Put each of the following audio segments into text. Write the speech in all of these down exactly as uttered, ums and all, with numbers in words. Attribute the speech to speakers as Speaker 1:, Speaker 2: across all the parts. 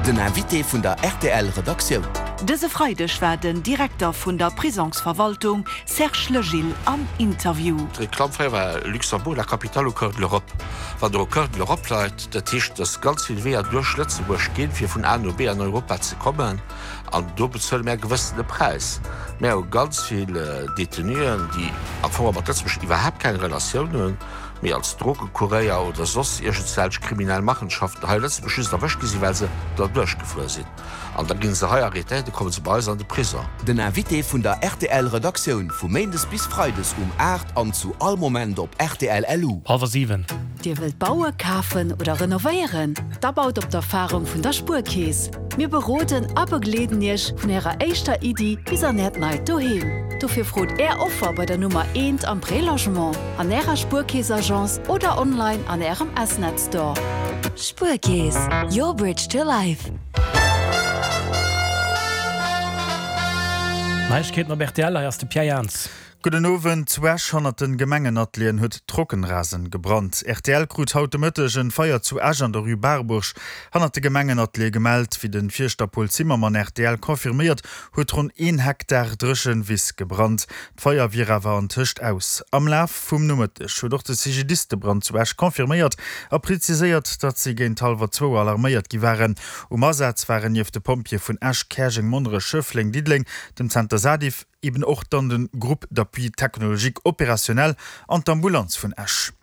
Speaker 1: Den Invité vun der R T L Redaktioun.
Speaker 2: Dëse Freideg war den Direkter vun der Prisongsverwaltung Serge Legil am Interview.
Speaker 3: D'Reklamm fréier war Luxembourg, la capitale au cœur de l'Europe. Wann der au cœur de l'Europe leit, dat heescht, dass ganz vill Weeër duerch Lëtzebuerg ginn, fir vun A no B an Europa ze kommen, an do bezuele mir e gewëssene Präis. Mir hu ganz vill Detenuen, déi am Fong mat Lëtzebuerg iwwerhaapt keng Relatioun hunn, mee als Drogekuréier oder soss iergendwelch kriminell Machenschaften hei a Lëtzebuerg just erwëscht gi sinn, well se derduerch gefuer sinn. An da gi se hei arrêtéiert, da komme se bei eis an de Prisong.
Speaker 1: Den Invité vun der R T L Redaktioun vu Méindes bis Freides um aacht an zu all Moment op R T L L U.
Speaker 4: Hallwer siwen.
Speaker 2: Dir wëllt baue, kafen oder renovéieren? Da baut op d'Erfarung vun der Spuerkeess. Mir beroden a begleeden Iech vun Ärer éischter Iddi bis an Äert neit Doheem. Dofir frot Är Offer bei der Nummer eent am Prélogement, an Ärer Spuerkeess-Agence oder online an Ärem S-Net Store.
Speaker 5: Spuerkeess, your bridge to life.
Speaker 4: Neiegkeeten op R T L, hei ass de Pierre Jans.
Speaker 6: Gudden Owend. Zu Esch hannert den Gemengenatelieren huet Trockenrasen gebrannt. R T L krut haut de Mëtteg en Feier zu Esch an der Rue Barbourg hannert de Gemengenateliere gemellt. Wéi den Fierschter Paul Zimmermann R T L confirméiert, huet ronn een Hektar dréchen Wiss gebrannt. D'Feier wier awer antëscht aus. Am Laf vum Nomëtteg huet och de C G D I S de Brand zu Esch confirméiert a preziséiert, datt si géint hallwer zwou alarméiert gi waren. Um Asaz waren nieft de Pompjeeë vun Esch, Käerjeng, Monnerech, Schëffleng, Diddeleng, dem Zenter Sadif, eben och dann den Groupe d'appui technologique opérationnel an d'Ambulanz vun Esch.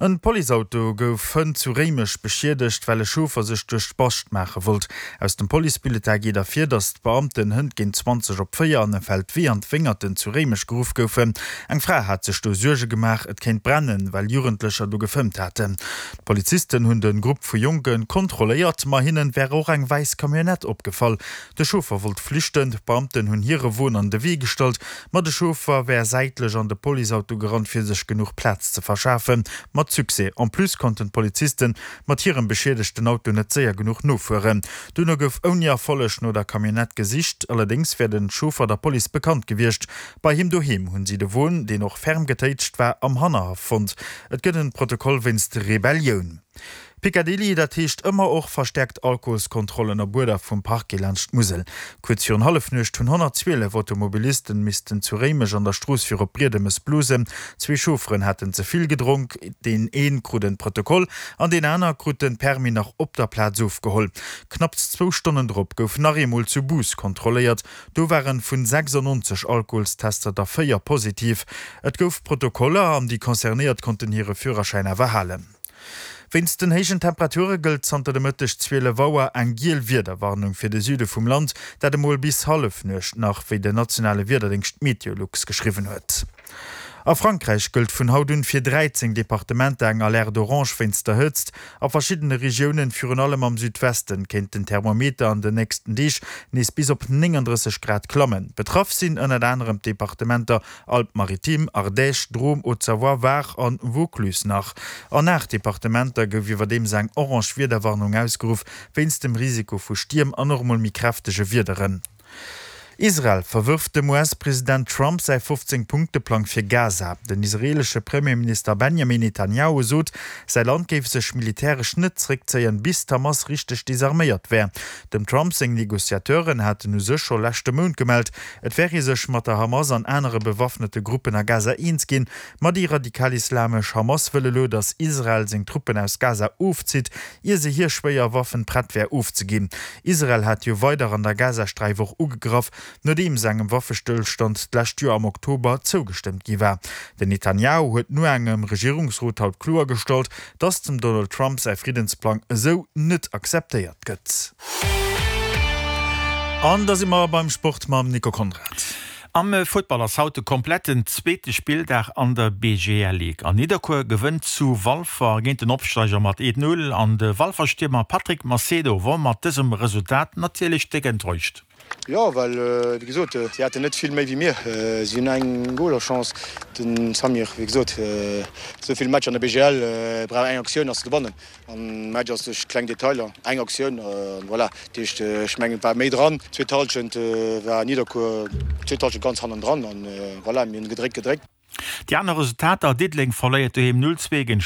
Speaker 6: En Policeauto gouf hënt zu Réimech beschiedegt, well e Chauffer sech duerch d'Bascht maache wollt. Aus dem Policebulletin geet ervir, datt d'Beamten hënt géint zwanzeg op véier an e Feldwee an d'Wéngerten zu Réimech geruff goufen. Eng Fra hat sech do Suerge gemaach, et kéint brennen, well Jugendlecher do gefëmmt haten. D'Polizisten hunn de Grupp vu Jonke kontrolléiert, ma hinne wär och eng wäiss Camionnette opgefall. De Chauffer wollt flüchten, d'Beamten hunn hire Won an de Wee gestallt, ma de Chauffer wär säitlech an de Policeauto gerannt, fir sech genuch Plaz ze verschafen. Mat Succès. En plus konnten d'Polizisten mat hirem beschiedegten Auto net séier genuch nofueren. Duerno gouf ouni Erfolleg no der Camionnette gesicht, allerdéngs wär de Chauffer der Police bekannt gewiescht. Bei him doheem hunn si de Won, deen och ferm getéitscht war, am Hannerhaff fonnt. Et gëtt e Protokoll wéinst Rebellioun. Picadilly, dat heescht ëmmer och verstäerkt Alkoholskontrollen op Uerder vum Parquet laanscht d'Musel. Kuerz virun Hallefnuecht hunn honnertzwielef Automobilisten missten zu Réimech an der Strooss fir op Briedemes blosen. Zwee Chaufferen haten ze vill gedronk, deen ee krut e Protokoll an deen aner krut de Permis nach op der Plaz ofgeholl. Knapps zwou Stonnen drop gouf nach eemol zu Bous kontrolléiert. Do waren vun sechsannonzeg Alkoholstester der véier positiv. Et gouf Protokoller an déi Concernéiert konnten hire Führerschäin awer halen. Wéinst den héijen Temperature gëllt zanter de Mëtteg zwielef Auer eng giel Wiederwarnung fir de Süde vum Land, dat emol bis Hallefnuecht nach, wéi den nationale Wiederdéngscht Meteolux geschriwwen huet. A Frankräich gëllt vun haut un fir dräizéng Departementer eng Alerte orange wéinst der Hëtzt. A verschiddene Regiounen, virun allem am Südwesten, kéint den Thermometer an den nächsten Deeg nees bis op nénganddrësseg Grad klammen. Betraff sinn ënnert anerem d'Departementer Alpes-Maritimes, Ardèche, Drôme, Haute-Savoie, Var an Vaucluse. Nach an aacht Departementer gouf iwwerdeems eng orange Wiederwarnung ausgeruff, wéinst dem Risiko vu Stierm an och emol méi kräftege Wiederen. Israel verwërft dem U S-President Trump säi fofzéng-Punkte-Plang fir Gaza. Den israeelesche Premierminister Benjamin Netanjahu sot, säi Land géif sech militäresch net zeréckzéien, bis d'Hamas richteg desarméiert wär. Dem Trump seng Negociateuren haten u sech scho leschte Mount gemellt, et wär ee sech mat der Hamas an anere bewaffnete Gruppen a Gaza eens ginn. Ma déi radikalislamesch Hamas wëll elo, datt Israel seng Truppen aus Gaza ofzitt, ier se hir schwéier Waffen prett wär ofzeginn. Israel hat jo weider an der Gazasträif och ugegraff, nodeems engem Waffestëllstand d'lescht Joer am Oktober zougestëmmt gi war. Den Netanjahu huet no engem Regierungsrot haut kloergestallt, datt dem Donald Trump säi Friddensplang esou net akzeptéiert gëtt. An da si mer beim Sport mam Nico Conrad.
Speaker 7: Am Futtball ass haut de kompletten zweete Spilldag an der B G L Ligue. An Nidderkuer gewënnt zu Walfer géint den Opsteiger mat eent Null an de Walfer Stiermer Patrick Macedo wor mat dësem Resultat natierlech déck enttäuscht.
Speaker 8: Jo, well wéi gesot, si haten net vill méi wéi mir. Si hunn eng Golerchance, den Samir, wéi gesot, esou vill Matcher an der B G L brauch eng Aktioun ass ze gewannen. An Match ass duerch kleng Detailer, eng Aktioun an voilà. Dat heescht, ech mengen et war méi dran. Zweet Hallschent war Nidderkuer zweet Hallschent ganz hannendran an voilà, mir hunn gedréckt, gedréckt.
Speaker 7: Déi aner Resultater, Diddeleng verléiert doheem null zwee géint